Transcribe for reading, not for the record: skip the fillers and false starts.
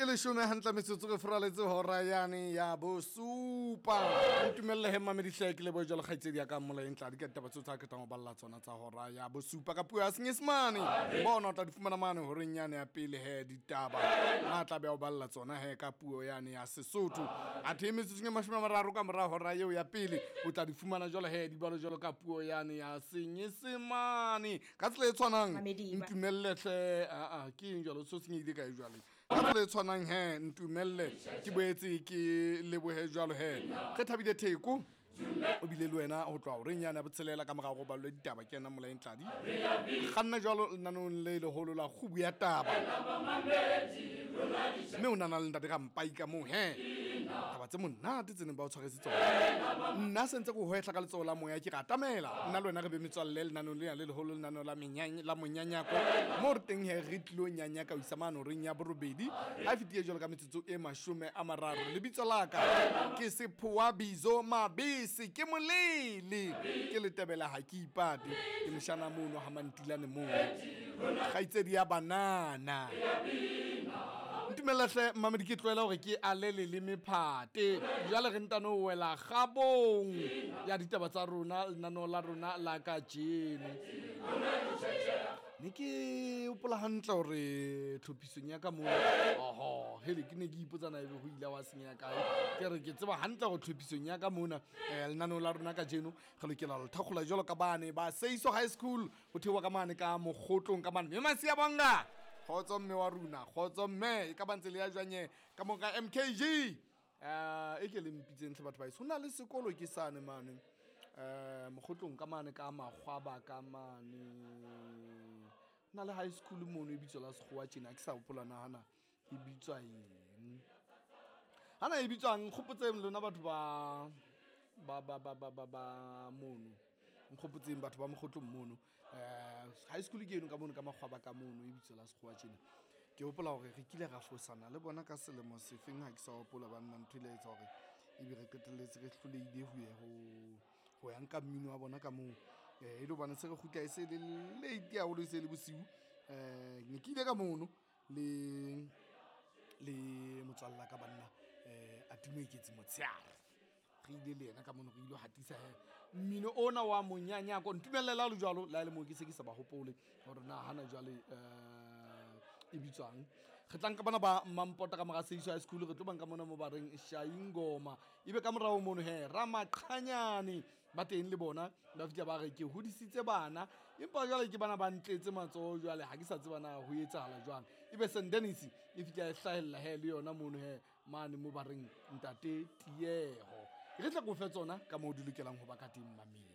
Leshome hantle metsotso re furaletse hora yane ya bosupa. Ntumelle he mamedi hle ke lebohe jwalo kgaitsedi ya ka Mmolaeng Tladi ka ditaba tseo tsa qetang ho balla tsona tsa hora ya bosupa ka puo ya Senyesemane. Bona o tla di fumana mane horeng yane ya pele he ditaba. Na tla be a o balla tsona he ka puo yane ya Sesotho. Athe metsotsong e 30 ka mora hora eo ya pele o tla di fumana jwalo he di balo jwalo ka puo yane ya Senyesemane. Ka tsela e tshwanang ntumelle hle aa ke eng jwalo so senyehile kae jwale. Ka tsela e tshwanang he ntumelle ke boetse ke lebohe jwalo he re thabile Theko o bile le wena ho tloha horeng yane ya botshelela ka morago go balwe ditaba ke ena Molaeng Tladi kganna jwalo lenanong le leholo la kgubu ya taba mme o nana le ntate Rampai ka moo he taba tse monate tse neng ba o tshwaretse tsona nna sentse ko hwehla ka letsoho la moya ke re atamela nna le wena re be metswalle lenanong lena le leholo lenaneo la la monyanyako mo re teng he re tlilo nyanyaka ho isa mane horeng ya borobedi ha e fetile jwalo ka metsotso e 30. Lebitso la ka ke Sephoa Bizo Mabese, ke molele ke letebela ha ke ipate, ke moshana mono ha Mantilane mono kgaitsedi ya banana. Ntumella hle mmamedi ke tlohela hore ke ale leleme phate jwale re ntano ho wela kgabong ya ditaba tsa rona lenaneo la rona la kajeno. Ne ke hopola hantle hore tlhophisong ya ka moo oho hele ke ne ke ipotsa na ebe ho ile wa senyeha kae. Ke re ke tseba hantle hore tlhophisong ya ka mona lenaneo la rona kajeno re lokela ho le thakgola jwalo ka bane ba Seiso High School ho theoha ka mane ka Mokgotlong ka mane. Mme Masia Bonga kgotso mme wa rona kgotso mme e ka ba ntse le ya jwanye ka mo ka MKG e ke le mpitseng tlhe batho ba heso. Ho na le sekolo ke sane mane Mokgotlong ka mane ka Makgwaba ka mane na le high school mono e bitswa la sekgowa tjena ke sa hopola nahana e bitswa eng hana e bitswang nkgopotseng lona batho ba ba ba ba ba ba ba mono nkgopotseng batho ba Mokgotlong mono high school ke eno ka mono ka Makgwaba ka mono e bitswa la sekgowa tjena. Ke hopola hore re kile ra fosana le bona ka selemo sefeng ha ke sa hopola banna ntho ile ya etsa hore ebe re qetelletse re hlolehile ho ya ho ya nka mmino wa bona ka moo. E le hobane se re kgutla e se le late haholo e se le bosiu. Ne ke ile ka mono le motswalla ka banna Atimo Eketsi motshehare. Re ile le yena ka mono re ile hatisa he mmino ona wa monyanyako. Ntumelle le ha le jwalo le ha e le moo ke se ke sa ba hopole hore na hana jwale e bitswang. Re tla nka bana ba Mampota ka mora Seiso High School re tlo banka mona mo ba reng Shaingoma ebe ka morao mono he Ramaqhanyane ba teng le bona ba fihla ba re ke hodisitse bana empa jwale ke bana ba ntletse matsoho jwale ha ke sa tseba na ho etsahala jwang. Ebe St Dennis e fihla e hlahella he le yona mono he mane mo ba reng ntate Tieho. Re tla ko fe tsona ka moo di lokelang ho ba ka teng mamedi.